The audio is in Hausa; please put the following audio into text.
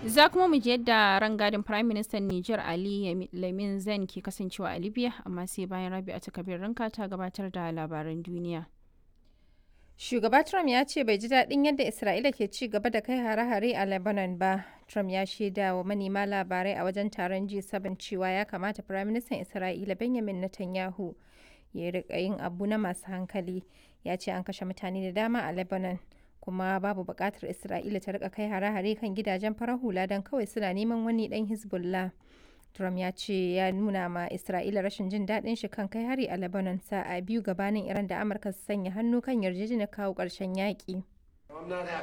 Za kuma mu ji yadda rangadin Prime Minister Niger Ali Lamin Zen ke kasancewa a Libya, amma sai bayan Rabi'a Kabir Ranka ta gabatar da labaran duniya. Shugaba Trump ya ce bai ji daɗin yadda Isra'ila ke ci gaba da kai hare-hare a Lebanon ba. Trump ya shaida wa manema labarai a wajen taron G7 cewa ya kamata Firaministan Isra'ila Benjamin Netanyahu ya riƙa yin abu na masu hankali. Ya ce an kashe mutane da dama a Lebanon, kuma babu buƙatar Isra'ila ta riƙa kai hare-hare kan gidajen farar hula don kawai suna neman wani ɗan Hezbollah. Trump ya ce ya nuna ma Isra'ila rashin jin daɗin shi kan kai hari a Lebanon sa'a 2 gabanin Iran da Amurka su sanya hannu kan yarjejeniyar kawo ƙarshen yaƙi.